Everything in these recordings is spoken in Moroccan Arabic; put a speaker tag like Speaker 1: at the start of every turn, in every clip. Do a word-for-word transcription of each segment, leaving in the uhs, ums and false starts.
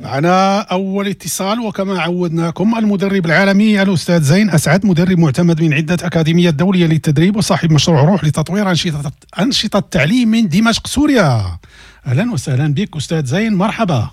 Speaker 1: معنا أول اتصال، وكما عودناكم المدرب العالمي الأستاذ زين أسعد، مدرب معتمد من عدة أكاديميات دولية للتدريب وصاحب مشروع روح لتطوير أنشطة أنشطة التعليم من دمشق سوريا. أهلا وسهلا بك أستاذ زين، مرحبا.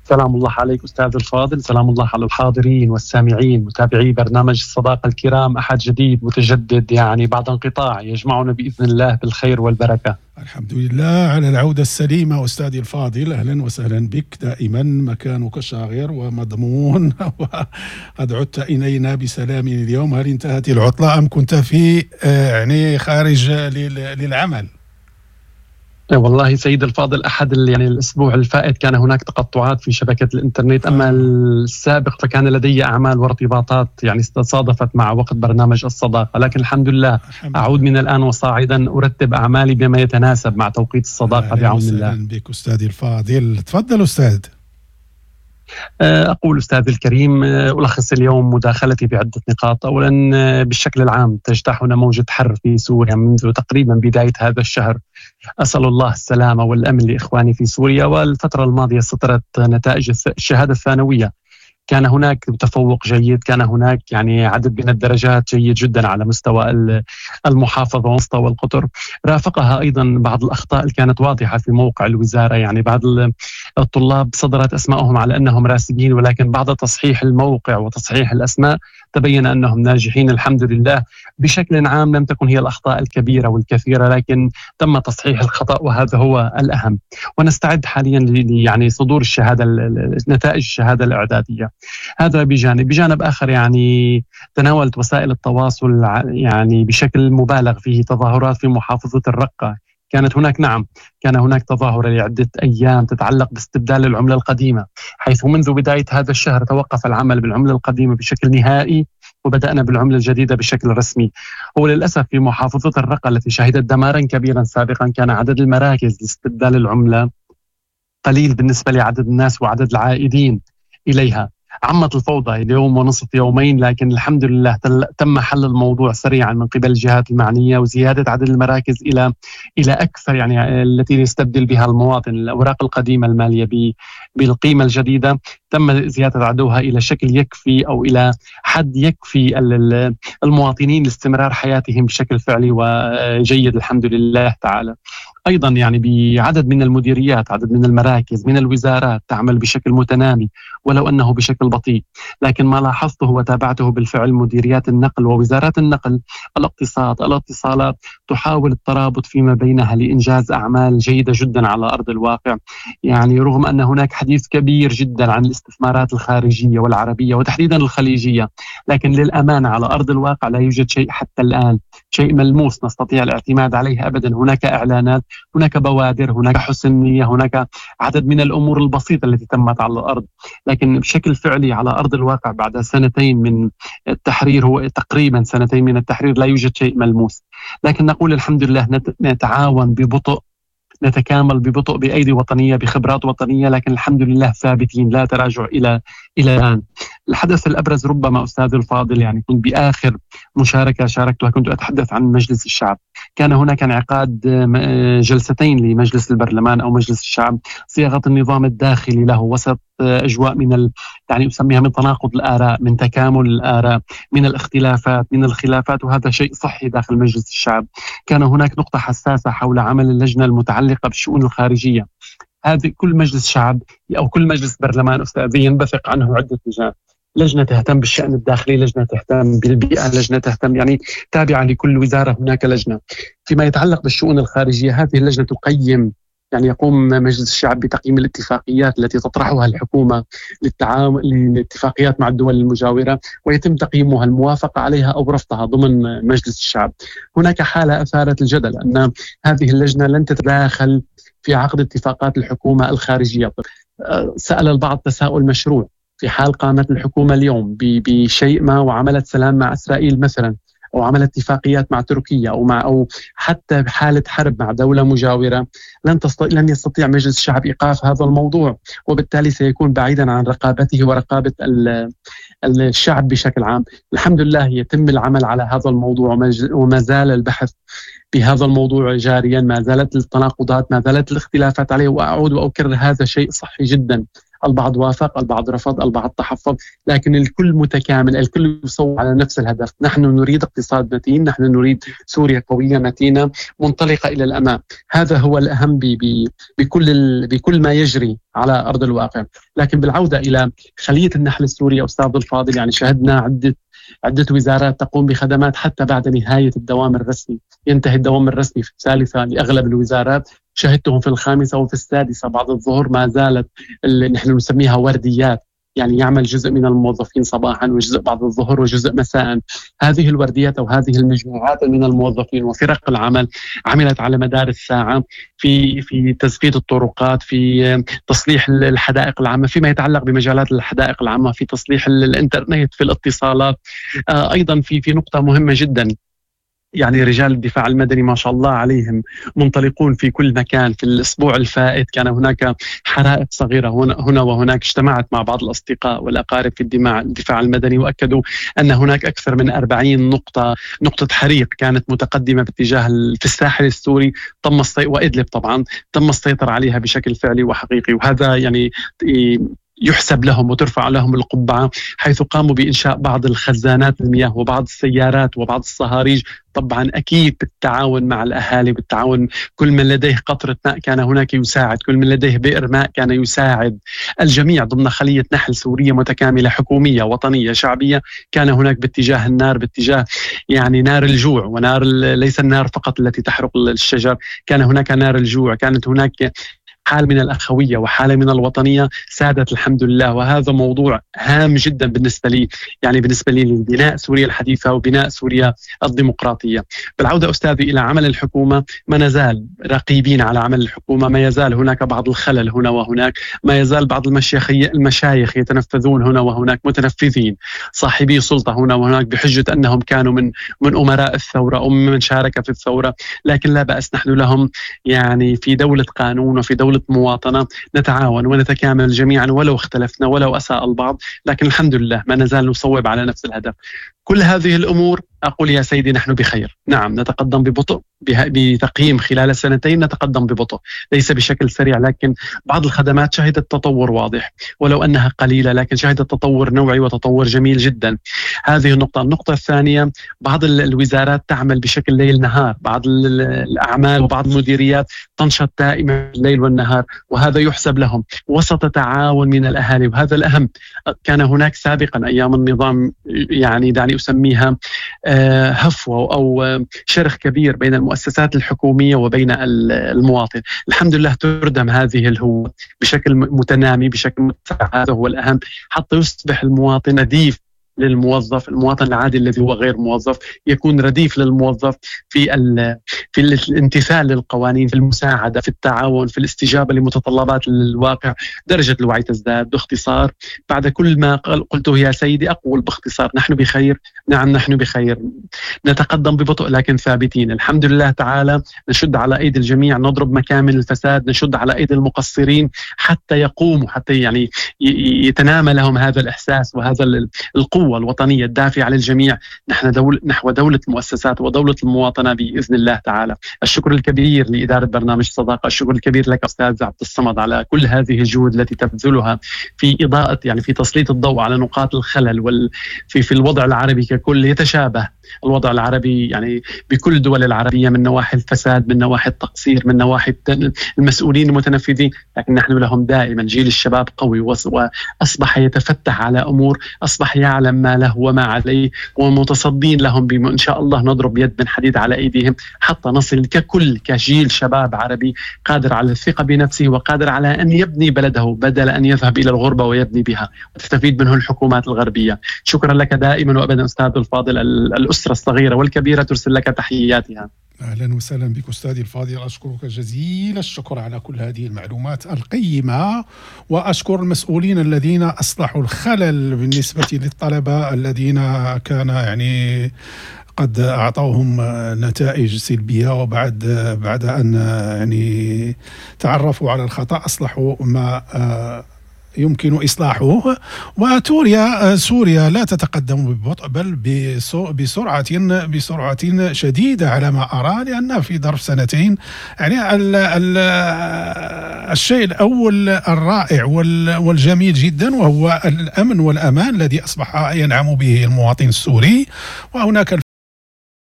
Speaker 2: سلام الله عليك أستاذ الفاضل، سلام الله على الحاضرين والسامعين متابعي برنامج الصداقة الكرام. أحد جديد متجدد يعني بعد انقطاع يجمعنا بإذن الله بالخير والبركة.
Speaker 1: الحمد لله على العودة السليمة أستاذي الفاضل، أهلا وسهلا بك. دائما مكانك شاغر ومضمون وقد عدت إلينا بسلام اليوم. هل انتهت العطلة أم كنت في يعني خارج للعمل؟
Speaker 2: والله سيد الفاضل، أحد يعني الأسبوع الفائت كان هناك تقطعات في شبكة الإنترنت، أما السابق فكان لدي أعمال وارتباطات يعني تصادفت مع وقت برنامج الصداقة، لكن الحمد لله الحمد أعود من الآن وصاعدا أرتب أعمالي بما يتناسب مع توقيت الصداقة بعون الله.
Speaker 1: أهلا بك أستاذي الفاضل، تفضل أستاذ.
Speaker 2: أقول أستاذ الكريم، ألخص اليوم مداخلتي بعدة نقاط. أولا، بالشكل العام تجتاحنا موجة حر في سوريا منذ تقريبا بداية هذا الشهر، أسأل الله السلامة والأمن لإخواني في سوريا. والفترة الماضية سطرت نتائج الشهادة الثانوية، كان هناك تفوق جيد، كان هناك يعني عدد من الدرجات جيد جدا على مستوى المحافظة ومستوى القطر. رافقها أيضا بعض الأخطاء اللي كانت واضحة في موقع الوزارة، يعني بعض الطلاب صدرت أسمائهم على أنهم راسبين، ولكن بعد تصحيح الموقع وتصحيح الأسماء تبين أنهم ناجحين الحمد لله. بشكل عام لم تكن هي الأخطاء الكبيرة والكثيرة، لكن تم تصحيح الخطأ وهذا هو الأهم. ونستعد حاليا يعني صدور الشهادة، نتائج الشهادة الإعدادية. هذا بجانب بجانب آخر، يعني تناولت وسائل التواصل يعني بشكل مبالغ فيه تظاهرات في محافظة الرقة. كانت هناك نعم كان هناك تظاهرة لعدة أيام تتعلق باستبدال العملة القديمة، حيث منذ بداية هذا الشهر توقف العمل بالعملة القديمة بشكل نهائي وبدأنا بالعملة الجديدة بشكل رسمي. وللأسف في محافظة الرقة التي شهدت دمارا كبيرا سابقا كان عدد المراكز لاستبدال العملة قليل بالنسبة لعدد الناس وعدد العائدين إليها. عمت الفوضى اليوم ونصف يومين، لكن الحمد لله تم حل الموضوع سريعا من قبل الجهات المعنية وزيادة عدد المراكز إلى إلى أكثر، يعني التي يستبدل بها المواطن الأوراق القديمة المالية بالقيمة الجديدة. تم زيادة عددها إلى شكل يكفي أو إلى حد يكفي المواطنين لاستمرار حياتهم بشكل فعلي وجيد الحمد لله تعالى. أيضا يعني بعدد من المديريات، عدد من المراكز، من الوزارات تعمل بشكل متنامي ولو أنه بشكل بطيء، لكن ما لاحظته وتابعته بالفعل مديريات النقل ووزارات النقل، الاقتصاد، الاتصالات تحاول الترابط فيما بينها لإنجاز أعمال جيدة جدا على أرض الواقع. يعني رغم أن هناك حديث كبير جدا عن الاستثمارات الخارجية والعربية وتحديدا الخليجية، لكن للأمانة على أرض الواقع لا يوجد شيء حتى الآن، شيء ملموس نستطيع الاعتماد عليه أبدا. هناك إعلانات، هناك بوادر، هناك حسن نية، هناك عدد من الأمور البسيطة التي تمت على الأرض، لكن بشكل فعلي على أرض الواقع بعد سنتين من التحرير، هو تقريبا سنتين من التحرير، لا يوجد شيء ملموس. لكن نقول الحمد لله نتعاون ببطء، نتكامل ببطء بأيدي وطنية، بخبرات وطنية، لكن الحمد لله ثابتين، لا تراجع إلى إلى الآن. الحدث الأبرز ربما أستاذ الفاضل، يعني كنت بآخر مشاركة شاركتها كنت أتحدث عن مجلس الشعب. كان هناك انعقاد جلستين لمجلس البرلمان أو مجلس الشعب، صياغة النظام الداخلي له وسط أجواء من ال... يعني أسميها من تناقض الآراء، من تكامل الآراء، من الاختلافات، من الخلافات، وهذا شيء صحي داخل مجلس الشعب. كان هناك نقطة حساسة حول عمل اللجنة المتعلقة بالشؤون الخارجية. هذه كل مجلس شعب أو كل مجلس برلمان أستاذ ينبثق عنه عدة لجان، لجنة تهتم بالشأن الداخلي، لجنة تهتم بالبيئة، لجنة تهتم يعني تابعة لكل وزارة هناك لجنة. فيما يتعلق بالشؤون الخارجية هذه اللجنة تقيم، يعني يقوم مجلس الشعب بتقييم الاتفاقيات التي تطرحها الحكومة للتعاون، للاتفاقيات مع الدول المجاورة، ويتم تقييمها، الموافقة عليها أو رفضها ضمن مجلس الشعب. هناك حالة أثارت الجدل أن هذه اللجنة لن تتداخل في عقد اتفاقات الحكومة الخارجية. سأل البعض تساؤل مشروع، في حال قامت الحكومة اليوم بشيء ما وعملت سلام مع إسرائيل مثلا، أو عمل اتفاقيات مع تركيا أو مع أو حتى بحالة حرب مع دولة مجاورة، لن تستطيع لن يستطيع مجلس الشعب إيقاف هذا الموضوع، وبالتالي سيكون بعيدا عن رقابته ورقابة الشعب بشكل عام. الحمد لله يتم العمل على هذا الموضوع، وما زال البحث بهذا الموضوع جاريا، ما زالت التناقضات، ما زالت الاختلافات عليه. وأعود وأكرر، هذا شيء صحي جدا، البعض وافق، البعض رفض، البعض تحفظ، لكن الكل متكامل، الكل يصوب على نفس الهدف. نحن نريد اقتصاد متين، نحن نريد سوريا قوية متينة منطلقة إلى الأمام. هذا هو الأهم ب ب بكل بكل ما يجري على أرض الواقع. لكن بالعودة إلى خلية النحل السورية أستاذ الفاضل، يعني شهدنا عدة عدة وزارات تقوم بخدمات حتى بعد نهاية الدوام الرسمي. ينتهي الدوام الرسمي في الثالثة لأغلب الوزارات، شهدتهم في الخامسة وفي السادسة بعد الظهر ما زالت اللي نحن نسميها ورديات، يعني يعمل جزء من الموظفين صباحا وجزء بعد الظهر وجزء مساء. هذه الورديات أو هذه المجموعات من الموظفين وفرق العمل عملت على مدار الساعة في في تزفيت الطرقات، في تصليح الحدائق العامة، فيما يتعلق بمجالات الحدائق العامة، في تصليح الإنترنت، في الاتصالات. أيضا في في نقطة مهمة جدا، يعني رجال الدفاع المدني ما شاء الله عليهم منطلقون في كل مكان. في الأسبوع الفائت كان هناك حرائق صغيرة هنا وهناك، اجتمعت مع بعض الأصدقاء والأقارب في الدفاع المدني وأكدوا أن هناك أكثر من أربعين نقطة نقطة حريق كانت متقدمة باتجاه في الساحل السوري، تم وإدلب طبعا تم السيطرة عليها بشكل فعلي وحقيقي. وهذا يعني يحسب لهم وترفع لهم القبعة، حيث قاموا بإنشاء بعض الخزانات المياه وبعض السيارات وبعض الصهاريج، طبعا أكيد بالتعاون مع الأهالي، بالتعاون كل من لديه قطرة ماء كان هناك يساعد، كل من لديه بئر ماء كان يساعد، الجميع ضمن خلية نحل سورية متكاملة حكومية وطنية شعبية. كان هناك باتجاه النار، باتجاه يعني نار الجوع، ونار ليس النار فقط التي تحرق الشجر، كان هناك نار الجوع، كانت هناك حالة من الأخوية وحالة من الوطنية سادت الحمد لله. وهذا موضوع هام جدا بالنسبة لي، يعني بالنسبة لي لبناء سوريا الحديثة وبناء سوريا الديمقراطية. بالعودة أستاذي إلى عمل الحكومة، ما نزال رقيبين على عمل الحكومة، ما يزال هناك بعض الخلل هنا وهناك، ما يزال بعض المشايخ يتنفذون هنا وهناك، متنفذين صاحبي سلطة هنا وهناك بحجة أنهم كانوا من من أمراء الثورة أو من شارك في الثورة، لكن لا بأس، نحن لهم يعني في دولة قانون وفي دولة مواطنة نتعاون ونتكامل جميعا ولو اختلفنا ولو أساء البعض، لكن الحمد لله ما نزال نصوب على نفس الهدف. كل هذه الأمور أقول يا سيدي نحن بخير. نعم نتقدم ببطء، بتقييم خلال سنتين نتقدم ببطء، ليس بشكل سريع، لكن بعض الخدمات شهدت تطور واضح ولو أنها قليلة، لكن شهدت تطور نوعي وتطور جميل جدا. هذه النقطة. النقطة الثانية، بعض الوزارات تعمل بشكل ليل نهار، بعض الأعمال وبعض المديريات تنشط دائما الليل والنهار، وهذا يحسب لهم وسط تعاون من الأهالي، وهذا الأهم. كان هناك سابقا أيام النظام يعني دعني أسميها هفوة أو شرخ كبير بين المؤسسات الحكومية وبين المواطن. الحمد لله تردم هذه الهوة بشكل متنامي، بشكل متسع، هذا هو الأهم حتى يصبح المواطن رديف للموظف، المواطن العادي الذي هو غير موظف يكون رديف للموظف في في الامتثال للقوانين، في المساعدة، في التعاون، في الاستجابة لمتطلبات الواقع. درجة الوعي تزداد. باختصار بعد كل ما قلته يا سيدي أقول باختصار نحن بخير. نعم نحن بخير، نتقدم ببطء لكن ثابتين الحمد لله تعالى. نشد على أيدي الجميع، نضرب مكامن الفساد، نشد على أيدي المقصرين حتى يقوموا، حتى يعني يتنامى لهم هذا الإحساس وهذا القوة الوطنية الدافعة للجميع نحن دول نحو دولة المؤسسات ودولة المواطنة بإذن الله تعالى. الشكر الكبير لإدارة برنامج صداقة، الشكر الكبير لك أستاذ عبد الصمد على كل هذه الجهود التي تبذلها في إضاءة يعني في تسليط الضوء على نقاط الخلل وال في في الوضع العربي ككل. يتشابه الوضع العربي يعني بكل الدول العربية من نواحي الفساد، من نواحي التقصير، من نواحي المسؤولين المتنفذين، لكن نحن لهم دائما جيل الشباب قوي وأصبح يتفتح على أمور، أصبح يعلم ما له وما عليه، ومتصدين لهم بما إن شاء الله نضرب يد من حديد على أيديهم حتى نصل ككل كجيل شباب عربي قادر على الثقة بنفسه وقادر على أن يبني بلده بدل أن يذهب إلى الغربة ويبني بها وتستفيد منه الحكومات الغربية. شكرا لك دائما وأبدا أستاذ الفاضل. الأسرة الصغيرة والكبيرة ترسل لك تحياتها.
Speaker 1: أهلا وسهلا بك أستاذي الفاضل، أشكرك جزيل الشكر على كل هذه المعلومات القيمة، وأشكر المسؤولين الذين أصلحوا الخلل بالنسبة للطلبة الذين كان يعني قد أعطوهم نتائج سلبية، وبعد بعد أن يعني تعرفوا على الخطأ أصلحوا ما يمكن إصلاحه. وتوريا سوريا لا تتقدم ببطء بل بسرعة بسرعة شديدة على ما أرى، لأن في ظرف سنتين يعني ال ال الشيء الأول الرائع والجميل جدا وهو الأمن والأمان الذي أصبح ينعم به المواطن السوري. وهناك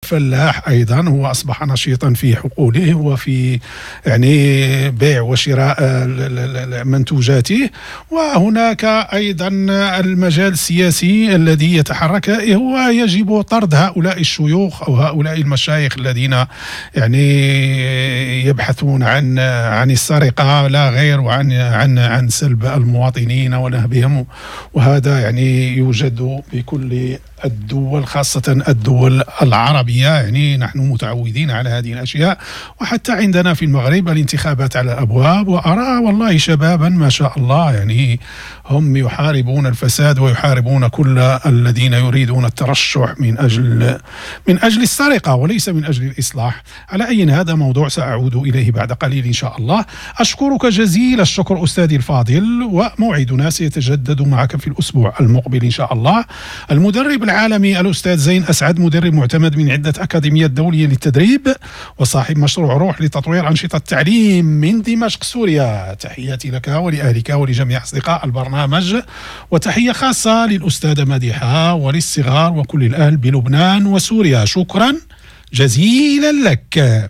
Speaker 1: الفلاح أيضا هو أصبح نشيطا في حقوله وفي يعني بيع وشراء منتوجاته. وهناك أيضا المجال السياسي الذي يتحرك، هو يجب طرد هؤلاء الشيوخ أو هؤلاء المشايخ الذين يعني يبحثون عن عن السرقة لا غير، وعن عن عن سلب المواطنين ونهبهم، وهذا يعني يوجد بكل الدول خاصة الدول العربية. يعني نحن متعودين على هذه الأشياء، وحتى عندنا في المغرب الانتخابات على الأبواب، وأرى والله شبابا ما شاء الله يعني هم يحاربون الفساد ويحاربون كل الذين يريدون الترشح من أجل من أجل السرقة وليس من أجل الإصلاح. على أي هذا موضوع سأعود إليه بعد قليل إن شاء الله. أشكرك جزيل الشكر أستاذي الفاضل، وموعدنا سيتجدد معك في الأسبوع المقبل إن شاء الله. المدرب العالمي الأستاذ زين أسعد، مدرب معتمد من عدة أكاديميات دولية للتدريب وصاحب مشروع روح لتطوير أنشطة التعليم من دمشق سوريا. تحياتي لك ولأهلك ولجميع أصدقاء البرنامج، وتحية خاصة للأستاذة مديحة وللصغار وكل الأهل بلبنان وسوريا. شكرا جزيلا لك.